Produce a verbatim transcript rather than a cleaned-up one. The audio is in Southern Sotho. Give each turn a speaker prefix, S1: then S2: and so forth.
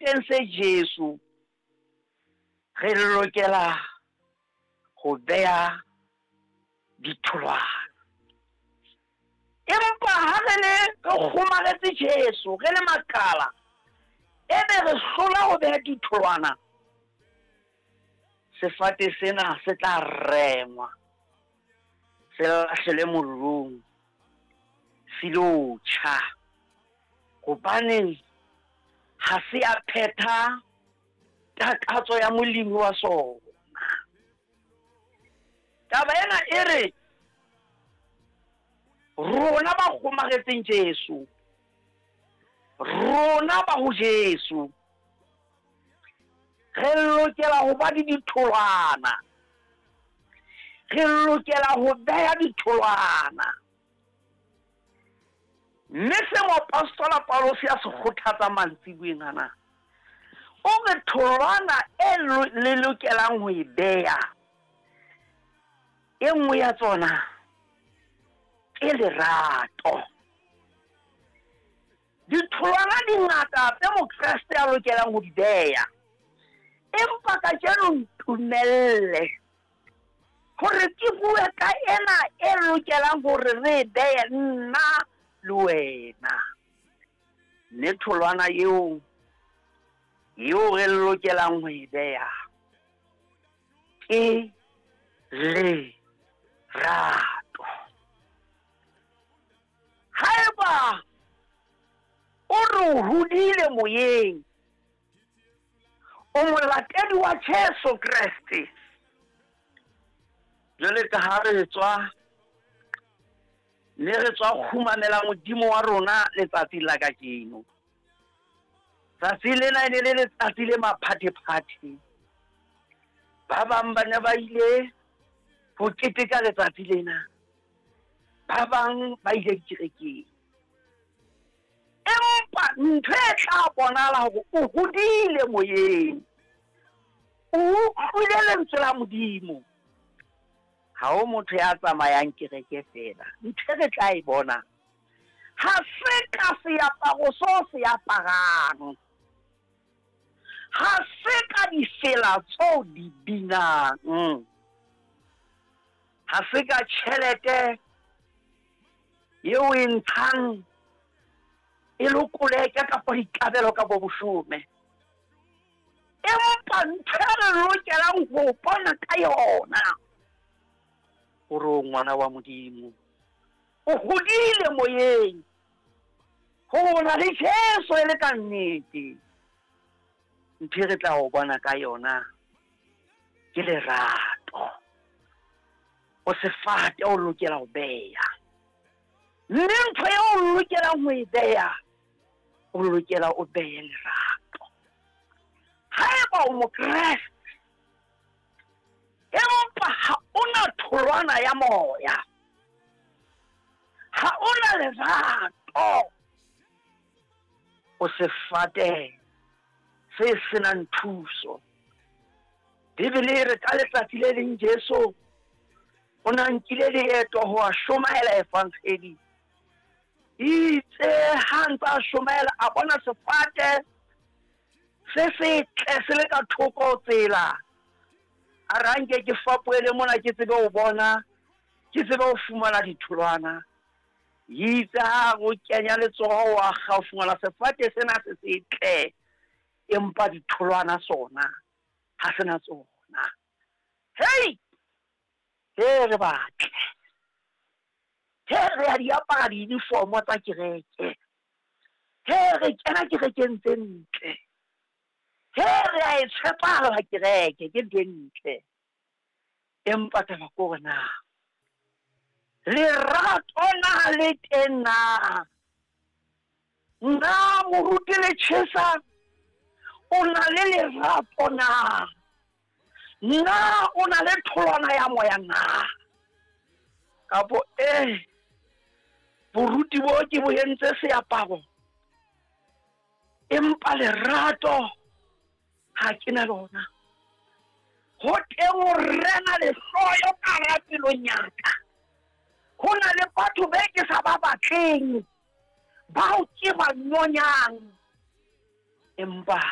S1: sefateng se Jesu, re lokela ho beha ditholwana. Empa ha re le re kgomaretse Jesu, re le makala, ebe re hlola ho beha ditholwana, sefate sena se tla rengwa, se lahlelwe mollong, se lo tjha, hobane ha se a phetha takatso ya molemi wa sona. Taba ena e re rona ba kgomaretseng Jesu, rona ba ho Jesu, re lokela ho ba le ditholwana, re lokela ho beha ditholwana. Mme se moapostola Paulus a se kgothatsa mantsiboeng ana, o re tholwana e le lokelang ho e beha, e nngwe ya tsona ke lerato. Ditholwana di ngata tse Mokreste a lokelang ho di beha, empa kajeno ntumelle hore ke bue ka ena e lokelang hore re e behe nna le wena. Mme tholwana eo eo re lokelang ho e beha ke lerato. Haeba o re o hodile moyeng, o molatedi wa Jesu Kreste, jwale ka ha re tswa mme re tswa kgumamela Modimo wa rona letsatsi la kajeno. Tsatsi lena e ne le letsatsi le maphathephathe. Ba bang ba ne ba ile ho keteka letsatsi lena, ba bang ba ile dikerekeng. Empa ntho e tla bonahala hore o hodile moyeng, o utlwile lentswe la Modimo. Ha ho motho ya tsamayang kereke feela. Ntho e re tla e bona ha se ka seaparo seo se aparang, ha se ka difela tseo di binang, ha se ka tjhelete eo e ntshang e le koleke kapa dikabelo ka bo boshome. Empa ntho e re lokelang ho bona ka yona hore o ngwana wa Modimo, o hodile moyeng, ho na le Jesu e le ka nnete. Ntho e re tla o bona ka yona ke lerato. O sefate o lokela ho beha, mme ntho eo o lokelang ho e beha, o lokela o behe lerato. Haeba o Mokreste empa ha ona tholwana ya moya, ha ona lerato, o sefate se senang thuso. Bibele e re ka letsatsi le leng Jesu o na nkile leeto ho a shomaela evangeli. Itse ha ntse a shomaela, a bona sefate se setle se le ka thoko tsela. A re anke ke fapohele mona ke tsebe ho bona, ke tsebe ho fumana ditholwana. Itse ha o kenya letsoho wa kga o fumana sefate sena se setle, empa ditholwana sona ha sena tsona. Hei, he re batle, he re a di apara di-uniform tsa kereke, he re kena kerekeng tse ntle, he re a e tshepala kereke ke ntho e ntle. Empa taba ke hore na lerato na le teng na? Na moruti le tjhesa o na le lerato na? Na o na le tholwana ya moya na? Kapo eh boruti bo ke bo entse seaparo, empa lerato ha ke na lona. Ho teng ho rena lehloyo ka hara pelong ya ka. Ho na le batho be ke sa ba batleng, bao ke ba nyonyang, empa